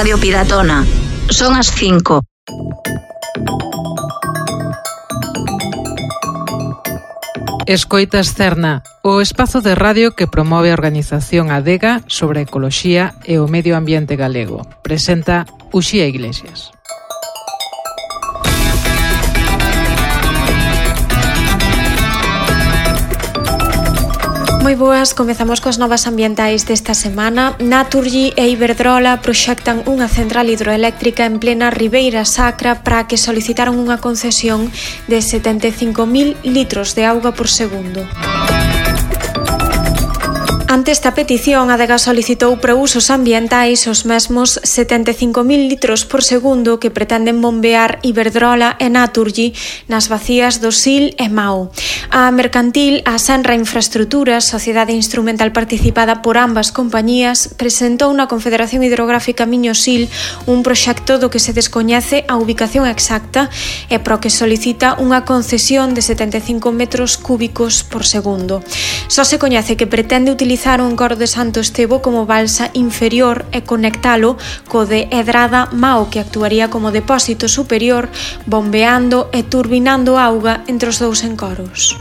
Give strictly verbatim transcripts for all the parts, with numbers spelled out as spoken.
Radio Piratona. Son as cinco. Escoitas Cerna, o espazo de radio que promove a organización Adega sobre a ecoloxía e o medio ambiente galego. Presenta Uxía Iglesias. Moi boas, comezamos coas novas ambientais desta semana. Naturgy e Iberdrola proxectan unha central hidroeléctrica en plena Ribeira Sacra para que solicitaron unha concesión de setenta e cinco mil litros de auga por segundo. Ante esta petición, a Adega solicitou para usos ambientais os mesmos setenta e cinco mil litros por segundo que pretenden bombear Iberdrola e Naturgy nas bacías do Sil e Mao. A mercantil, a Senra Infraestructuras, sociedade instrumental participada por ambas compañías, presentou na Confederación Hidrográfica Miño-Sil un proxecto do que se descoñece a ubicación exacta e pro que solicita unha concesión de setenta e cinco metros cúbicos por segundo. Só se coñece que pretende utilizar un coro de Santo Estevo como balsa inferior e conectalo co de Edrada Mao, que actuaría como depósito superior, bombeando e turbinando auga entre os dous encoros.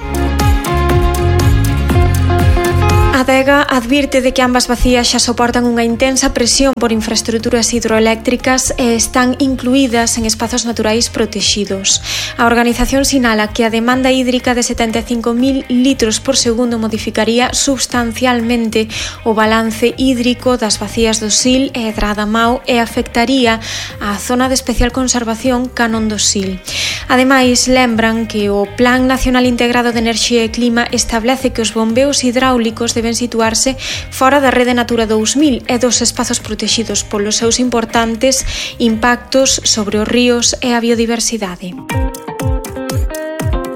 A Adega advirte de que ambas bacías xa soportan unha intensa presión por infraestructuras hidroeléctricas e están incluídas en espazos naturais protexidos. A organización sinala que a demanda hídrica de setenta e cinco mil litros por segundo modificaría substancialmente o balance hídrico das bacías do Sil e Edrada Mao e afectaría a zona de especial conservación Canon do Sil. Ademais, lembran que o Plan Nacional Integrado de Enerxía e Clima establece que os bombeos hidráulicos deben situarse fora da rede Natura dous mil e dos espazos protexidos polos seus importantes impactos sobre os ríos e a biodiversidade.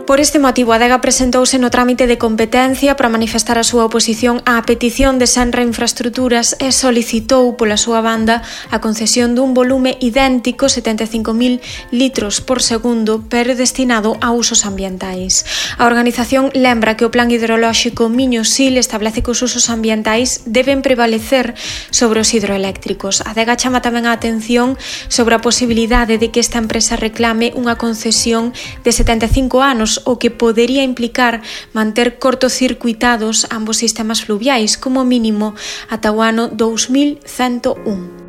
Por este motivo, a Adega presentouse no trámite de competencia para manifestar a súa oposición á petición de Senra Infraestructuras e solicitou pola súa banda a concesión dun volume idéntico, setenta e cinco mil litros por segundo, pero destinado a usos ambientais. A organización lembra que o Plan Hidrolóxico Miño-Sil establece que os usos ambientais deben prevalecer sobre os hidroeléctricos. A Adega chama tamén a atención sobre a posibilidade de que esta empresa reclame unha concesión de setenta e cinco anos, o que podería implicar manter cortocircuitados ambos sistemas fluviais, como mínimo ata o ano dous mil cento un.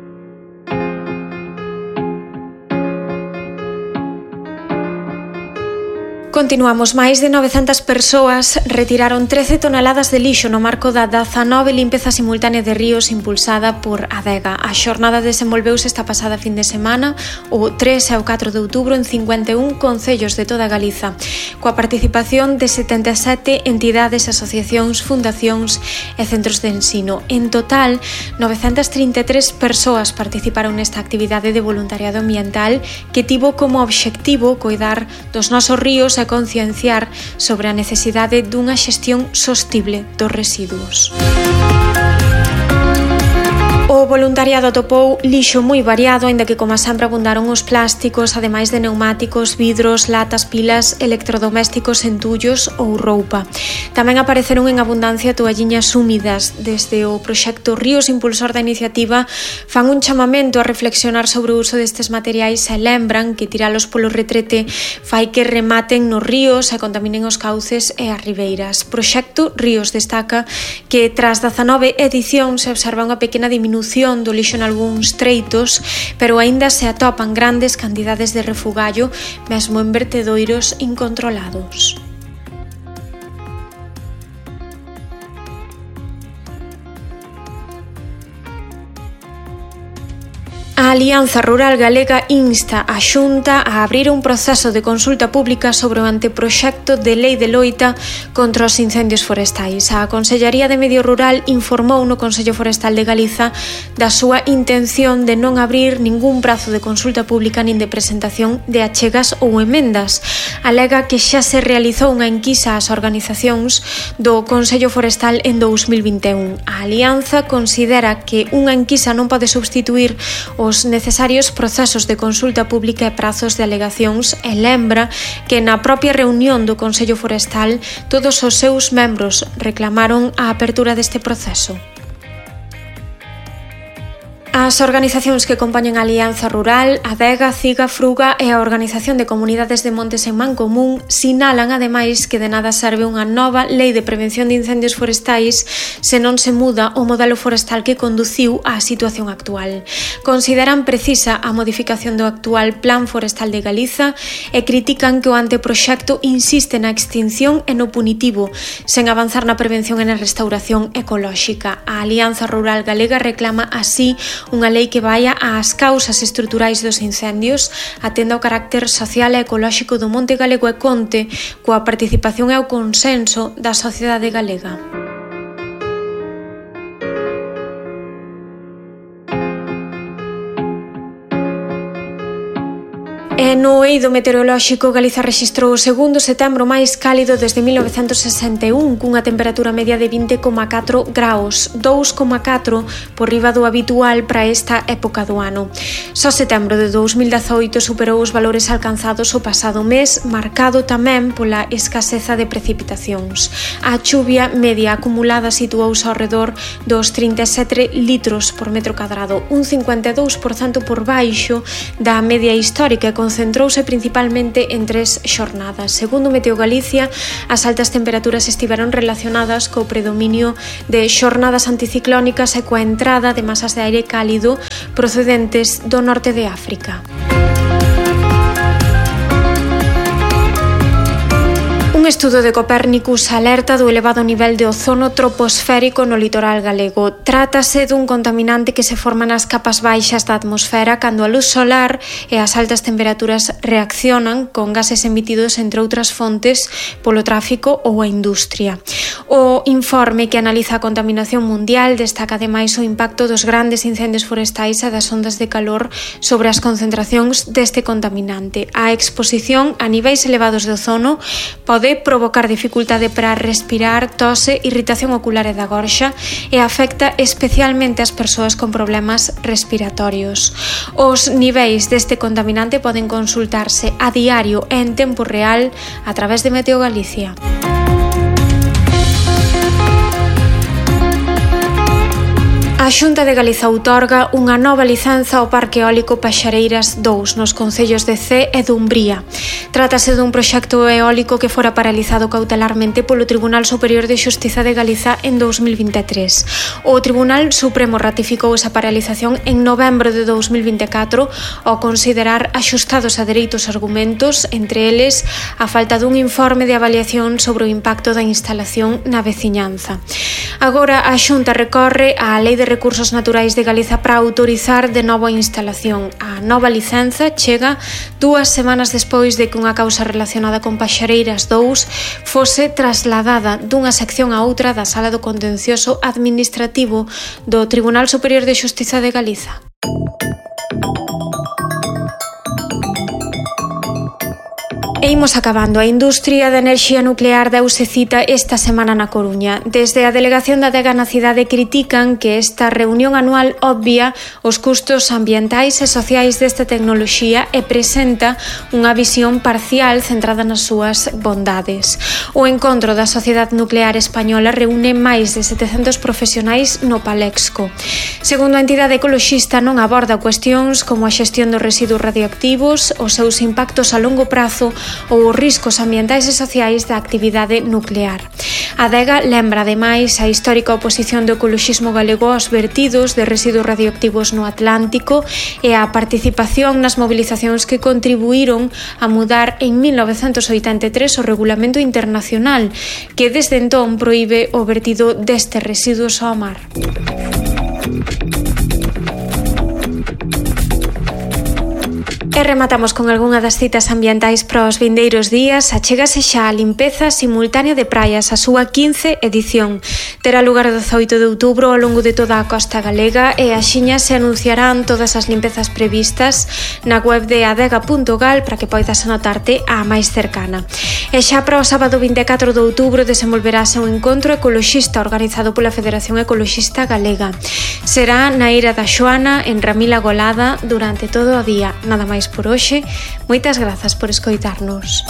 Continuamos. Máis de novecentas persoas retiraron trece toneladas de lixo no marco da dezanove limpeza simultánea de ríos impulsada por Adega. A xornada desenvolveuse esta pasada fin de semana, o tres e o catro de outubro, en cincuenta e un concellos de toda Galiza, coa participación de setenta e sete entidades, asociacións, fundacións e centros de ensino. En total, novecentas trinta e tres persoas participaron nesta actividade de voluntariado ambiental que tivo como obxectivo coidar dos nosos ríos e concienciar sobre a necesidade dunha xestión sostible dos residuos. O voluntariado atopou lixo moi variado, aínda que, como sempre, abundaron os plásticos, ademais de neumáticos, vidros, latas, pilas, electrodomésticos, entullos ou roupa. Tamén apareceron en abundancia toalliñas húmidas. Desde o proxecto Ríos, impulsor da iniciativa, fan un chamamento a reflexionar sobre o uso destes materiais e lembran que tiralos polo retrete fai que rematen nos ríos e contaminen os cauces e as ribeiras. Proxecto Ríos destaca que, tras dezanove edicións, se observa unha pequena diminución do lixo en algúns treitos, pero aínda se atopan grandes cantidades de refugallo, mesmo en vertedoiros incontrolados. A Alianza Rural Galega insta a Xunta a abrir un proceso de consulta pública sobre o anteproxecto de lei de loita contra os incendios forestais. A Consellaría de Medio Rural informou no Consello Forestal de Galiza da súa intención de non abrir ningún prazo de consulta pública nin de presentación de achegas ou emendas. Alega que xa se realizou unha enquisa ás organizacións do Consello Forestal en dous mil vinte e un. A Alianza considera que unha enquisa non pode substituir os necesarios procesos de consulta pública e prazos de alegacións e lembra que na propia reunión do Consello Forestal todos os seus membros reclamaron a apertura deste proceso. A As organizacións que compoñen a Alianza Rural, Adega, Ciga, Fruga e a Organización de Comunidades de Montes en Mancomún sinalan, ademais, que de nada serve unha nova lei de prevención de incendios forestais se non se muda o modelo forestal que conduciu á situación actual. Consideran precisa a modificación do actual Plan Forestal de Galiza e critican que o anteproxecto insiste na extinción e no punitivo, sen avanzar na prevención e na restauración ecolóxica. A Alianza Rural Galega reclama así unha lei que vaia ás causas estruturais dos incendios, atenda ao carácter social e ecolóxico do monte galego e conte coa participación e o consenso da sociedade galega. E no eido meteorolóxico, Galiza rexistrou o segundo setembro máis cálido desde mil novecentos sesenta e un, cunha temperatura media de vinte coma catro graus, dous coma catro por riba do habitual para esta época do ano. Só setembro de dous mil dezaoito superou os valores alcanzados o pasado mes, marcado tamén pola escaseza de precipitacións. A chuvia media acumulada situouse ao redor dos trinta e sete litros por metro cadrado, un cincuenta e dous por cento por baixo da media histórica e concentrouse principalmente en tres xornadas. Segundo Meteo Galicia, as altas temperaturas estiveron relacionadas co predominio de xornadas anticiclónicas e coa entrada de masas de aire cálido procedentes do norte de África. Un estudo de Copérnicus alerta do elevado nivel de ozono troposférico no litoral galego. Trátase dun contaminante que se forma nas capas baixas da atmosfera cando a luz solar e as altas temperaturas reaccionan con gases emitidos, entre outras fontes, polo tráfico ou a industria. O informe que analiza a contaminación mundial destaca ademais o impacto dos grandes incendios forestais e das ondas de calor sobre as concentracións deste contaminante. A exposición a niveis elevados de ozono pode provocar dificultade para respirar, tose, irritación ocular e da gorxa e afecta especialmente as persoas con problemas respiratorios. Os niveis deste contaminante poden consultarse a diario e en tempo real a través de Meteo Galicia. A Xunta de Galiza outorga unha nova licenza ao Parque Eólico Paxareiras dous nos concellos de Cee e Dumbría. Trátase dun proxecto eólico que fora paralizado cautelarmente polo Tribunal Superior de Xustiza de Galiza en dous mil vinte e tres. O Tribunal Supremo ratificou esa paralización en novembro de dous mil vinte e catro ao considerar axustados a dereitos argumentos, entre eles a falta dun informe de avaliación sobre o impacto da instalación na veciñanza. Agora a Xunta recorre á Lei de Recursos Naturais de Galiza para autorizar de novo a instalación. A nova licenza chega dúas semanas despois de que unha causa relacionada con Paxareiras dous fose trasladada dunha sección a outra da Sala do Contencioso Administrativo do Tribunal Superior de Xustiza de Galiza. E imos acabando. A industria de enerxía nuclear deuse cita esta semana na Coruña. Desde a delegación da Adega na cidade critican que esta reunión anual obvia os custos ambientais e sociais desta tecnoloxía e presenta unha visión parcial centrada nas súas bondades. O encontro da Sociedade Nuclear Española reúne máis de setecentos profesionais no Palexco. Segundo a entidade ecoloxista, non aborda cuestións como a xestión dos residuos radioactivos, os seus impactos a longo prazo ou os riscos ambientais e sociais da actividade nuclear. A Adega lembra ademais a histórica oposición do ecoloxismo galego aos vertidos de residuos radioactivos no Atlántico e a participación nas movilizacións que contribuíron a mudar en mil novecentos oitenta e tres o regulamento internacional que desde entón proíbe o vertido destes residuos ao mar. E rematamos con algunha das citas ambientais para os vindeiros días. Achégase xa a limpeza simultánea de praias, a súa quince edición. Terá lugar o dezaoito de outubro ao longo de toda a costa galega e axiña se anunciarán todas as limpezas previstas na web de adega punto gal para que poidas anotarte a máis cercana. E xa para o sábado vinte e catro de outubro desenvolverase un encontro ecoloxista organizado pola Federación Ecoloxista Galega. Será na Eira da Xoana, en Ramila Golada, durante todo o día. Nada máis por hoxe. Moitas grazas por escoitarnos.